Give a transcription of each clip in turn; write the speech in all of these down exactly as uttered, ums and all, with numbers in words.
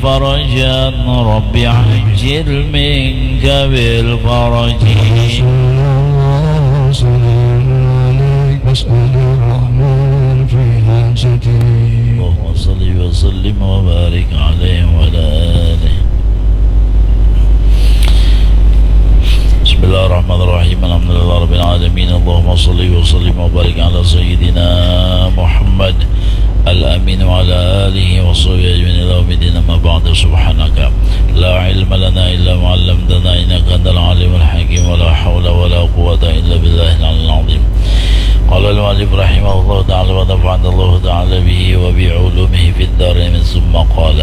فرجا رب عجل منك بالفرج. صلى الله وسلم عليك واسأل الرحمن في حاجتي. اللهم صل وسلم وبارك عليه وعلى آله. بسم الله الرحمن الرحيم. الحمد لله رب العالمين. اللهم صل وسلم وبارك على سيدنا محمد الأمين وعلى آله وصحبه أجمعين إلى يوم الدين. أما بعد، سبحانك لا علم لنا إلا ما علمتنا إنك أنت العليم الحكيم. ولا حول ولا قوة إلا بالله العلي العظيم. قال المؤلف رحمه الله تعالى ونفعنا الله تعالى به وبعلومه في الدارين. ثم قال: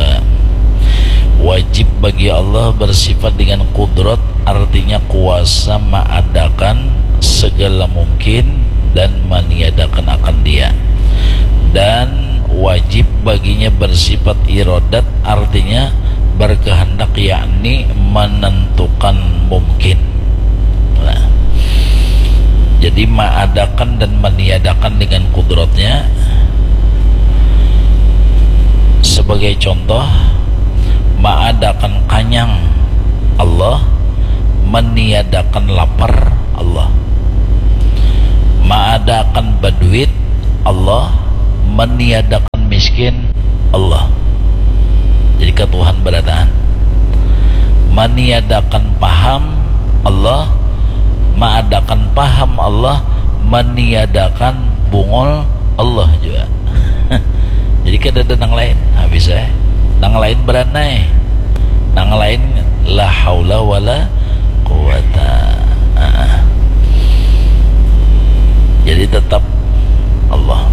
Wajib bagi Allah bersifat dengan kudrat, artinya kuasa maadakan segala mungkin dan maniadakan akan Dia. Dan wajib baginya bersifat irodat, artinya berkehendak, yakni menentukan mungkin. Nah, jadi maadakan dan maniadakan dengan kudratnya. Sebagai contoh, maadakan kanyang Allah, maniadakan lapar Allah. Maadakan baduit Allah, maniadakan miskin Allah. Jadi ka Tuhan barataan. Maniadakan paham Allah, maadakan paham Allah, maniadakan bungul Allah juga. Jadi kada ada nang lain. Habis eh. Nang lain beranai. Nang lain la haula wala quwata. Ah. Jadi tetap Allah.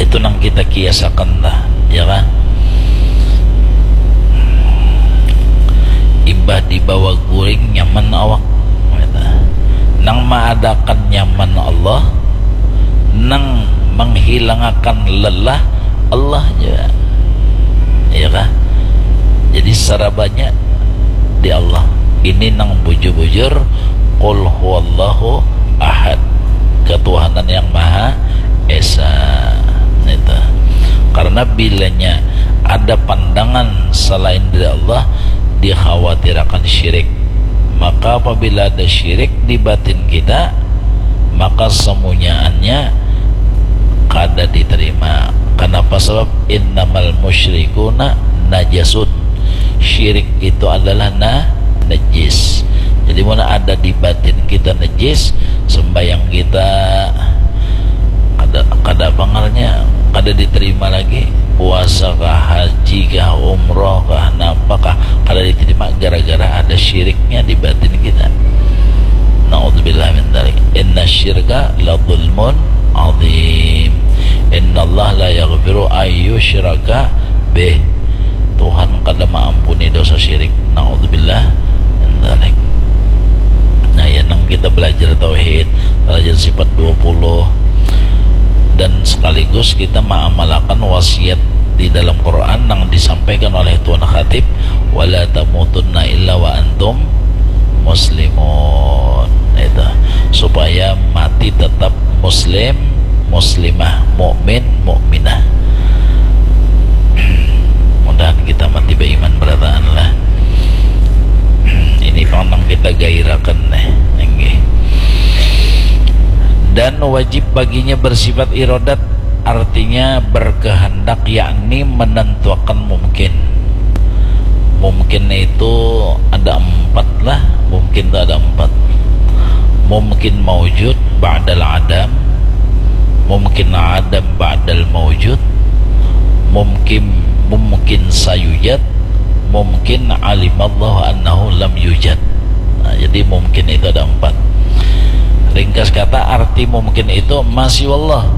Itu nang kita kiasakan lah, ya kan? Imbah dibawa guring nyaman awak. Nang maadakan nyaman Allah, nang menghilangakan lelah Allah juga. Iya kah? Jadi sarabanya di Allah. Ini nang bujur-bujur Qul huwallahu ahad, ketuhanan yang maha esa. Itu. Karena bilanya ada pandangan selain dari Allah, dikhawatirakan syirik. Maka apabila ada syirik di batin kita, maka semunyaannya kada diterima. Kenapa? Sebab innamal musyrikuna najasun. Syirik itu adalah na najis. Jadi mana ada di batin kita najis, sembayang kita kada, kada pangalnya, kada diterima lagi. Puasa kah, haji kah, umroh kah, napa kah, kada diterima gara-gara ada syiriknya di batin kita. Naudzubillah min dzalik. Inna syirka la zulmun azim. Innallaha la yaghfiru ayyusyraka bih. Tuhan kada maampuni dosa syirik. Naudzubillah min dzalik. Nah, ya, nang kita belajar tauhid, belajar sifat dua puluh, dan sekaligus kita mengamalkan wasiat di dalam Quran yang disampaikan oleh Tuan Khatib, "Wala tamutunna illa wa antum muslimun." Itu supaya mati tetap muslim, muslimah, mukmin, mukminah. Mudahan kita mati beriman berataan lah. Ini pang nang kita gairakan nih, nggih. Dan wajib baginya bersifat irodat, artinya berkehendak, yakni menentuakan mungkin. Mungkin itu ada empat lah, mungkin itu ada empat. Mungkin maujud ba'dal adam, mungkin adam ba'dal maujud, mungkin, mungkin sayujad, mungkin alimallahu annahu lam yujad. Nah, jadi mungkin itu ada empat. Ringkas kata, arti mungkin itu masih Allah.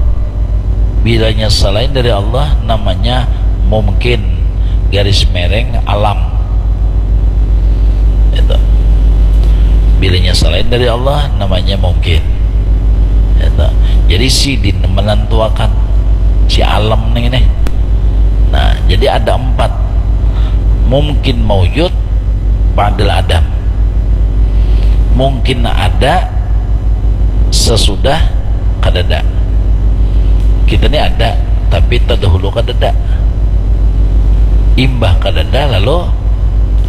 Bilanya selain dari Allah, namanya mungkin, garis mereng alam. Itu. Bilanya selain dari Allah, namanya mungkin. Itu. Jadi sidin menentuakan si alam nih, nih. Nah, jadi ada empat. Mungkin maujud ba'dal adam. Mungkin ada sesudah kadada. Kita ni ada, tapi terdahulu kadada. Imbah kadada lalu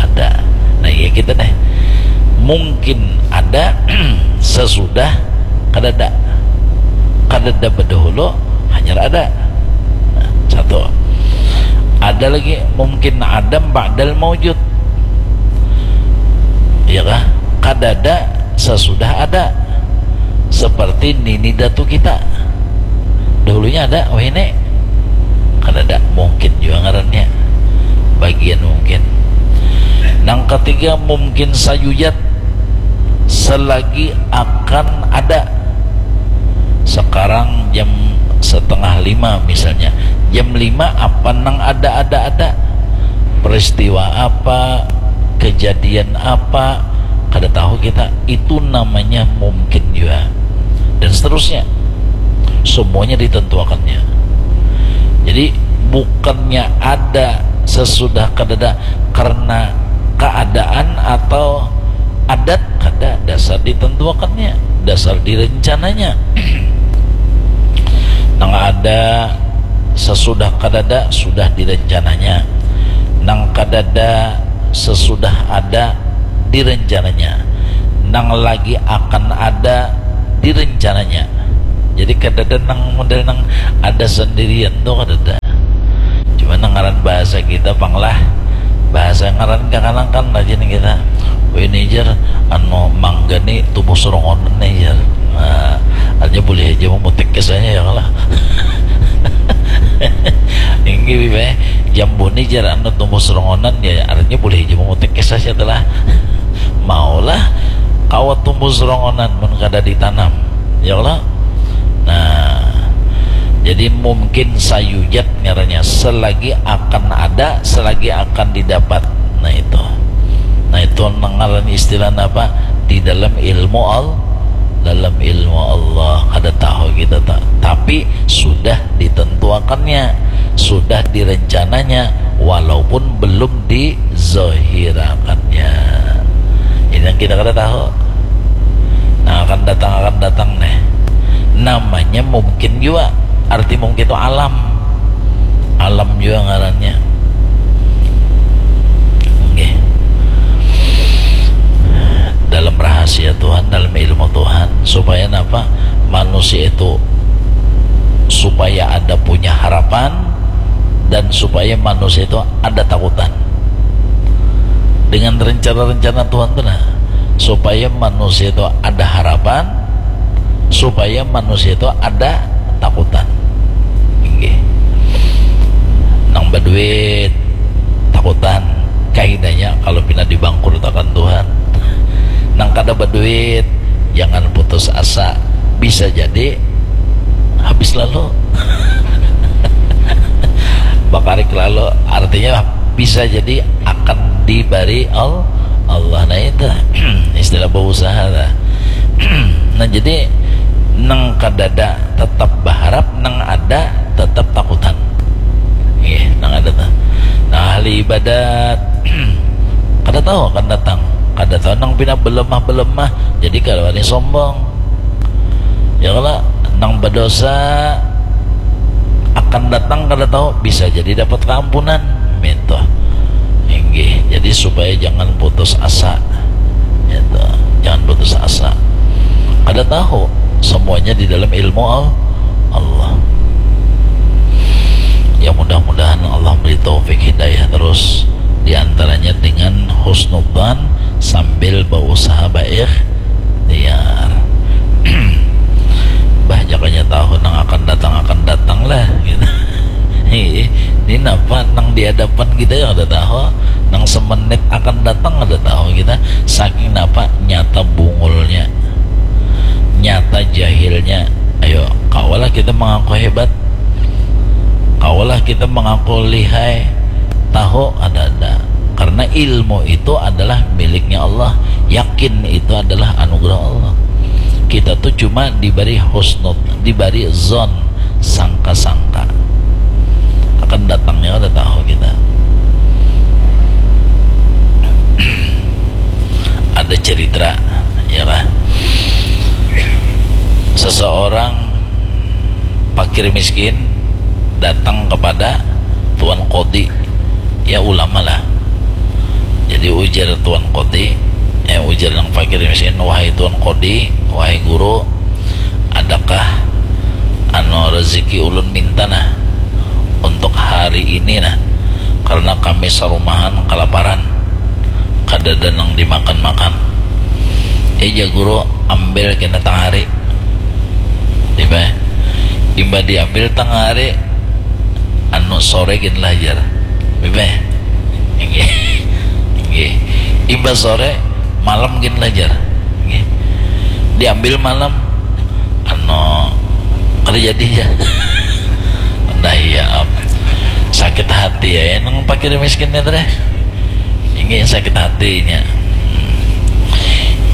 ada. Nah, iya kita nih. Mungkin ada sesudah kadada. Kadada bedahulu hanyar ada. Nah, satu. Ada lagi mungkin adam ba'dal maujud. Iya kah? Kadada sesudah ada. Seperti nini datu kita. Dahulunya ada, wahini kadada, mungkin jua ngarannya. Bagian mungkin. Nang katiga mungkin sayujad, selagi akan ada. Sekarang jam setengah lima misalnya, jam lima apa nang ada, ada, ada, peristiwa apa, kejadian apa, kada tahu kita. Itu namanya mungkin jua. Dan seterusnya. Semuanya ditentuakannya. Jadi bukannya ada sesudah kadada karena keadaan atau adat, kada, dasar ditentuakannya, dasar direncananya. Nang ada sesudah kadada sudah direncananya. Nang kadada sesudah ada direncananya. Nang lagi akan ada direncananya. Jadi kadada nang model nang ada sendirian tuh, kadada. Cuma nang ngaran bahasa kita pang lah, bahasa ngaran kakanakan aja nih kita. Wih, ini jar, anu, mangga nih tumbuh serongonan nih jar. Nah, aja boleh aja memutik kisahnya ya lah. Ini jambu nih jar, anu, tumbuh serongonan ya, artinya boleh aja memutik kisahnya telah. Maulah kawa tumbuh serongonan mun kada ditanam, ya Allah. Nah, jadi mungkin sayujad ngarannya, selagi akan ada, selagi akan didapat. Nah, itu. Nah, itu ngaran istilah apa? Di dalam ilmu Allah, dalam ilmu Allah kada tahu kita tak, tapi sudah ditentuakannya, sudah direncananya, walaupun belum di zahirakannya. Ini yang kita kada tahu. Nah, akan datang, akan datang nih. Namanya mungkin juga. Arti mungkin itu alam. Alam juga ngarannya. Oke. Dalam rahasia Tuhan, dalam ilmu Tuhan, supaya apa? Manusia itu, supaya ada punya harapan, dan supaya manusia itu ada takutan. Dengan rencana-rencana Tuhan tu nah, supaya manusia itu ada harapan, supaya manusia itu ada takutan. Inggih. Nang baduit takutan, kahinanya kalau pina dibangkrutakan Tuhan. Nang kada baduit, jangan putus asa. Bisa jadi habis lalu. Bakarik lalu, artinya bisa jadi akan dibari Allah. Nah, itu istilah berusaha lah. Nah, jadi nang kadada tetap berharap, nang ada tetap takutan. Iya, nang ada tuh. Nah, ahli ibadat kada tahu akan datang, kada tahu nang pina belemah-belemah, jadi kalau ini sombong. Ya kalau nang berdosa akan datang kada tahu, bisa jadi dapat keampunan. Minta. Inggih. Jadi supaya jangan putus asa. Itu. Jangan putus asa. Kada tahu. Semuanya di dalam ilmu Allah. Ya, mudah-mudahan Allah beri taufik hidayah terus, diantaranya dengan husnudzan sambil berusaha baik. Tiar. Bah, jakanya tahu nang akan datang, akan datang lah gitu. Ini napa nang di hadapan kita yang ada tahu, nang semenit akan datang ada tahu kita. Saking napa nyata bungulnya, nyata jahilnya. Ayo, kawalah kita mengaku hebat, kawalah kita mengaku lihai, tahu ada ada. Karena ilmu itu adalah miliknya Allah, yakin itu adalah anugerah Allah. Kita tuh cuma diberi husnud, diberi zon, sangka-sangka akan datangnya, ada tahu kita. Ada cerita, ya lah, seseorang fakir miskin datang kepada tuan kodi, Ya ulama lah. Jadi ujar Tuan Kodi, eh, ujar nang fakir miskin, "Wahai Tuan Kodi, wahai guru, adakah anu rezeki ulun minta nah untuk hari ini nah, karena kami sarumahan kalaparan, kadada nang dimakan-makan." "Ija guru, ambil kena tangari." Imbah, imbah diambil tangari, anu, "Sore gin lah," jar. Bebe. Inggih. Inggih. Imbah sore, "Malam gin lah," jar. Inggih. Diambil malam, anu, kada jadi, jar. Nah, iya, am. Sakit hati ya, nang fakir miskin ni, teh. Inggih, sakit hatinya.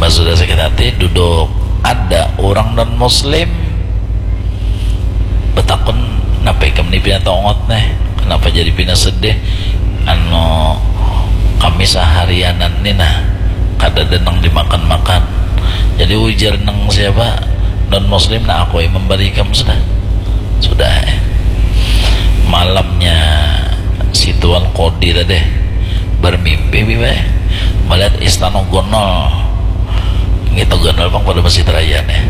Pas sudah sakit hati, duduk. Ada orang non muslim betakun, "Napa ikam ni pina tongot neh? Kenapa jadi pina sedih?" "Anu, kami saharianan ni nah, kadada nang dimakan-makan." Jadi ujar nang siapa, non muslim, "Nah, aku ai memberi ikam sudah." Sudah, eh. Malamnya si Tuan Kodi tadi bermimpi, Bibi, melihat istana gonol. Ngitu gonol pang pada Masjid Raya nih.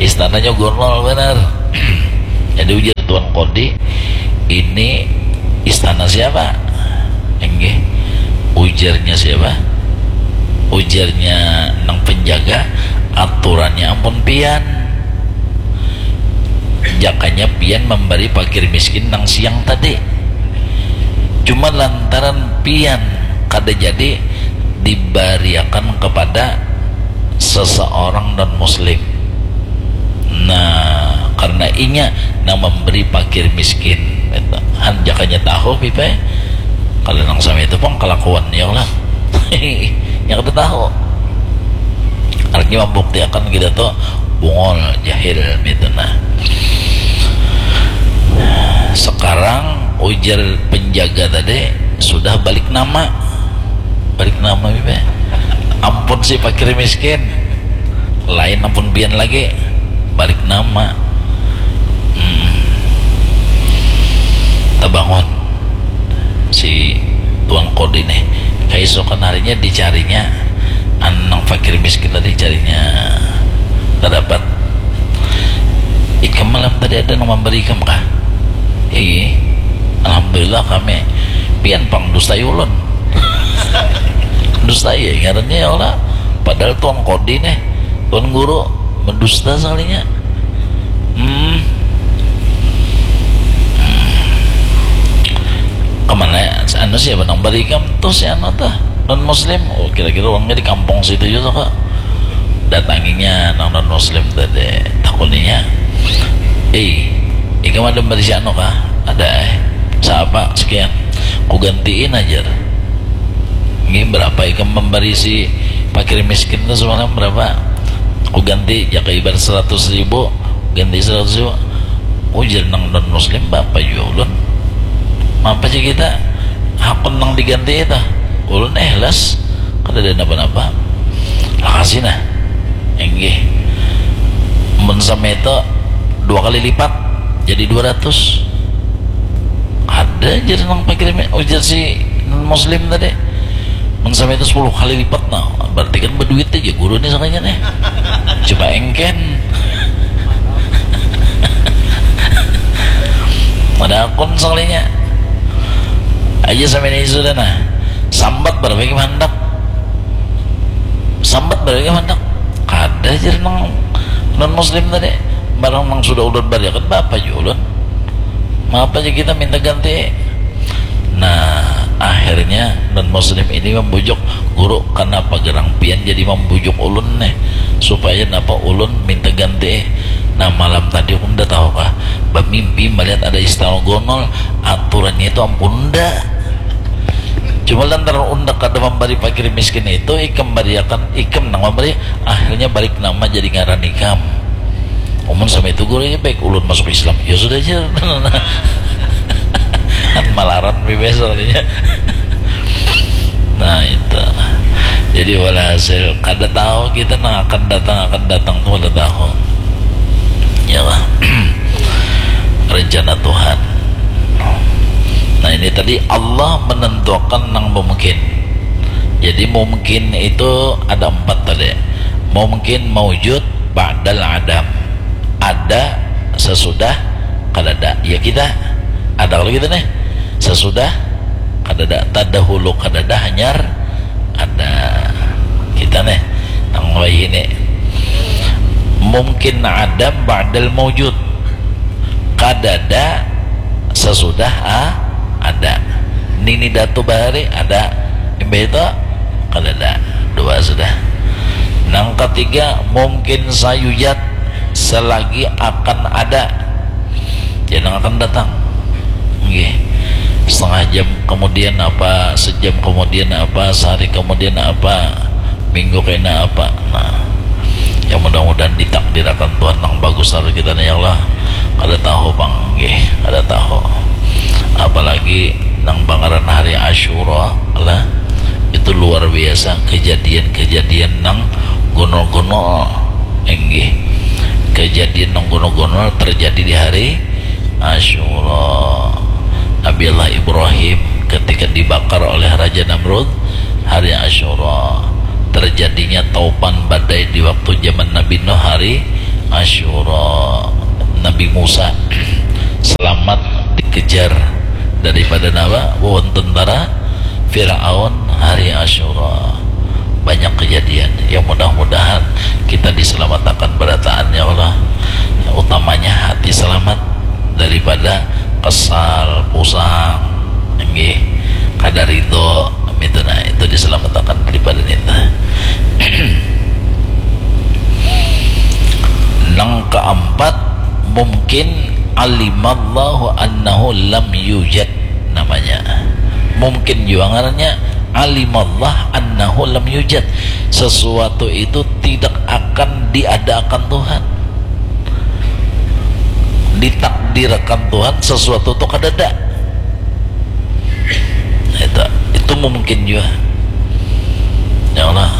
Istananya gonol benar. Jadi ujar Tuan Kodi, "Ini istana siapa?" Inggih. Ujarnya siapa? Ujarnya nang penjaga, "Aturannya ampun pian. Jakanya pian memberi fakir miskin nang siang tadi. Cuma lantaran pian kada jadi, dibariakan kepada seseorang non muslim. Nah, karena inya nang memberi fakir miskin." Han, jakanya tahu, Pipe. Kalau nang sama itu pang kelakuannya lah. Yang kita tahu. Artinya membuktikan kita tuh bungul, jahil, gitu nah. Sekarang ujar penjaga tadi sudah balik nama. Balik nama, Bibi. Ampun si fakir miskin. Lain ampun pian lagi. Balik nama. Hmm. Tabangun si Tuan Kodi nih. Keesokan harinya dicarinya, anu, nang fakir miskin tadi, carinya tak dapat. "Ikam malam tadi ada nang memberi ikam kah?" "Ih, alhamdulillah kami." "Pian pang dustai ulun." Dustai ya ngarannya, ya Allah. Padahal Tuan Kodi nih, Tuan Guru, mendusta sekalinya. Hmm. Kemana ya? Anu, siapa nang bari ikam tuh, si anu tuh, non muslim? Oh, kira-kira orangnya di kampung situ juga kok. Datanginya nang non muslim tadi, takuninya, "Eh, ikam ada bari si anu kah?" "Ada, eh." "Siapa?" "Sekian." "Ku gantiin aja." "Ini berapa ikam membari si fakir miskin tuh semalam, berapa?" "Ku ganti, jaka ibarat seratus ribu, ganti seratus ribu." Ujar nang non muslim, "Bapak juga ulun. Apa aja kita hakun nang diganti itu? Ulun ikhlas, kada ada napa-napa." "Lakasi nah." "Inggih." "Mun sama itu dua kali lipat, jadi dua ratus." "Ada," jar nang fakir mi-, ujar si non muslim tadi. "Mun sama itu sepuluh kali lipat, nah, berarti kan berduit aja guru nih sakalinya nih." Coba engken. Ada akun sakalinya. Aja sama ini sudah nah. "Sambat berapa ikam handak?" "Sambat berapa ikam handak?" "Kada," jar nang non muslim tadi. "Barang nang sudah ulun bariakan, baapa jua ulun. Maapa aja kita minta ganti." Nah, akhirnya non muslim ini membujuk, "Guru, kenapa gerang pian jadi membujuk ulun nih? Supaya napa ulun minta ganti?" "Nah, malam tadi ulun dah tahu kah, bemimpi melihat ada istana gonol, aturannya itu ampun unda. Cuma lantaran unda kada memberi fakir miskin itu, ikam bariakan, ikam nang memberi, akhirnya balik nama jadi ngaran ikam." "Amun sama itu guru, ya baik ulun masuk Islam." "Ya sudah aja." Kan malaran bebas soalnya. Nah, itu. Jadi walhasil, kada tahu kita nang akan datang, akan datang tuh kada tahu. Ya lah. Rencana Tuhan. Nah, ini tadi Allah menentukan nang mungkin. Jadi mungkin itu ada empat tadi. Mungkin maujud ba'dal adam. Ada sesudah kadada. Ya kita ada kalau kita nih sesudah kadada, tadahulu kadada, hanyar ada kita nih nang wayah ini. Mungkin adam ba'dal maujud, kadada sesudah a ada. Nini datu bahari ada, imbah itu kadada. Dua sudah. Nang ketiga mungkin sayujad, selagi akan ada, jangan akan datang. Nggih. Setengah jam kemudian apa, sejam kemudian apa, sehari kemudian apa, minggu kena apa. Nah, yang mudah-mudahan ditakdirakan Tuhan nang bagus harus kita nih ya Allah. Kada tahu pang, nggih, kada tahu. Apalagi nang pangaran hari Asyura lah, itu luar biasa kejadian-kejadian nang gunul-gunul, nggih. Kejadian nang gunul-gunul terjadi di hari Asyura. Nabi Allah Ibrahim ketika dibakar oleh Raja Namrud hari Asyura. Terjadinya taupan badai di waktu zaman Nabi Nuh hari Asyura. Nabi Musa selamat dikejar daripada nawa wawon tentara Firaun hari Asyura. Banyak kejadian yang mudah-mudahan kita diselamatkan berataan ya Allah. Utamanya hati selamat daripada kesal, pusang, nggih, kada ridho, itu nah itu diselamatkan daripada nita. Nang keempat mungkin alimallahu annahu lam yujad namanya. Mungkin juga ngarannya alimallah annahu lam yujad. Sesuatu itu tidak akan diadakan Tuhan. Ditakdirkan Tuhan sesuatu itu kadada. Itu, itu mungkin juga. Ya Allah.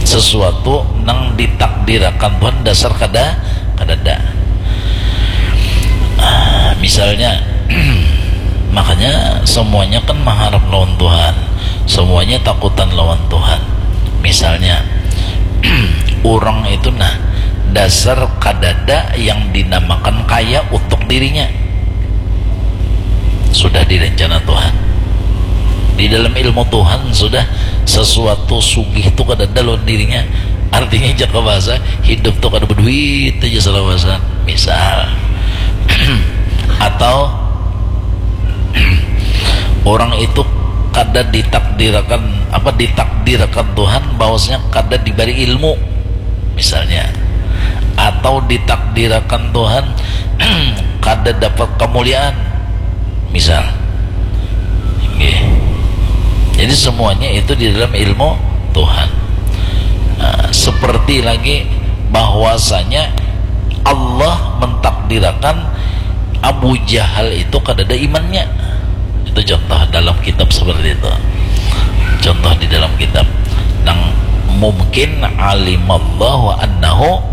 Sesuatu nang ditakdirkan Tuhan dasar kada kadada. Ah, misalnya makanya semuanya kan mengharap lawan Tuhan, semuanya takutan lawan Tuhan. Misalnya orang itu nah dasar kadada yang dinamakan kaya untuk dirinya, sudah direncana Tuhan. Di dalam ilmu Tuhan sudah sesuatu sugih itu kadada lawan dirinya. Artinya jaka bahasa hidup tuh kada berduit aja salawasan. Misal atau orang itu kada ditakdirkan apa ditakdirkan Tuhan bahwasanya kada diberi ilmu misalnya, atau ditakdirkan Tuhan kada dapat kemuliaan misal. Nggih. Jadi semuanya itu di dalam ilmu Tuhan. Nah, seperti lagi bahwasanya Allah mentakdirkan Abu Jahal itu kadada imannya. Itu contoh dalam kitab seperti itu. Contoh di dalam kitab. Nang mungkin alimallahu annahu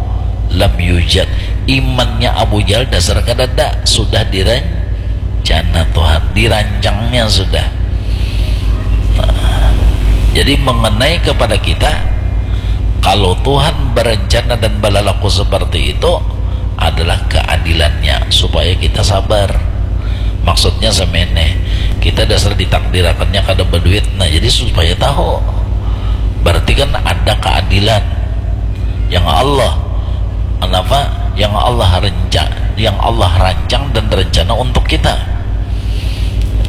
lam yujad. Imannya Abu Jahal dasar kadada, sudah direncana Tuhan, dirancangnya sudah. Nah, jadi mengenai kepada kita, kalau Tuhan berencana dan berlaku seperti itu adalah keadilannya supaya kita sabar. Maksudnya semene, kita dasar ditakdirakannya kada berduit, nah jadi supaya tahu berarti kan ada keadilan yang Allah kenapa yang Allah renca yang Allah rancang dan rencana untuk kita.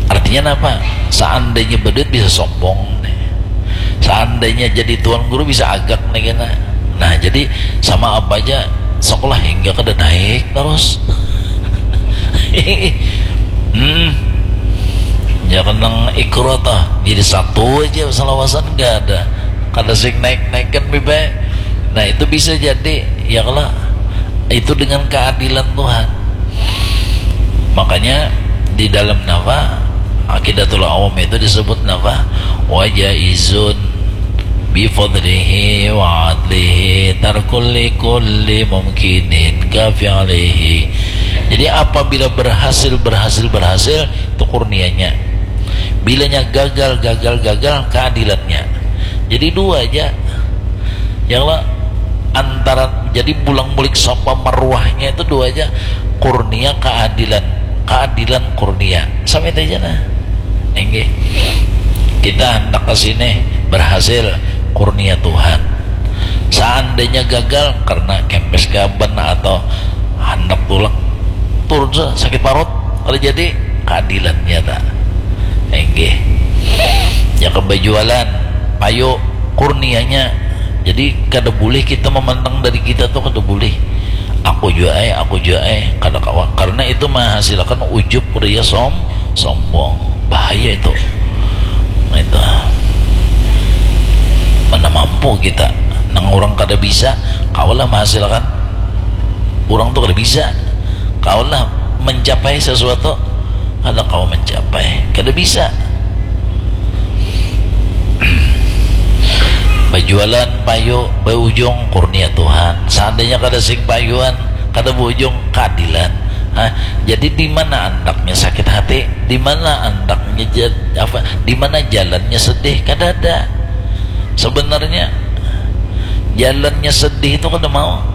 Artinya apa? Seandainya berduit bisa sombong nih. Seandainya jadi tuan guru bisa agak nih kena. Nah jadi sama apa aja sekolah hingga kada naik terus. Hmm. Ya kenang ikro toh jadi satu aja salawasan gak ada kada sing naik naikkan bebe. Nah itu bisa jadi ya kalau itu dengan keadilan Tuhan. Makanya di dalam napa akidatul awam itu disebut napa wajaizun bifadlihi wa adlihi tarkul likulli mumkinin kafi'lihi. Jadi apabila berhasil, berhasil, berhasil, itu kurnianya. Bilanya gagal, gagal, gagal, keadilannya. Jadi dua aja. Ya Allah, antara, jadi bulang-bulik Safa Marwahnya itu dua aja. Kurnia, keadilan. Keadilan, kurnia. Sampai itu aja nah. Inggih. Kita hendak ke sini berhasil, kurnia Tuhan. Seandainya gagal karena kempes gaban atau hendak tulak, turun sa, sakit parut, kalau jadi, keadilannya ta. Inggih. Ya, ke bajualan, payu, kurnianya. Jadi kada boleh kita memandang dari kita tuh, kada boleh. Aku jua ai, aku jua ai, kada kawa. Karena itu menghasilkan ujub, ria, som, sombong. Bahaya itu. Nah, itu. Mana mampu kita? Nang orang kada bisa, kawalah menghasilkan. Orang tuh kada bisa, kawalah mencapai sesuatu. Kada kawa mencapai, kada bisa. Bajualan payu, baujung kurnia Tuhan. Seandainya kada sing payuan, kada baujung, keadilan. Hah? Jadi di mana andaknya sakit hati? Di mana andaknya jad-, apa? Di mana jalannya sedih? Kada ada. Sebenarnya jalannya sedih itu kada mau.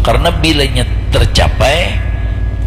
Karena bilanya tercapai,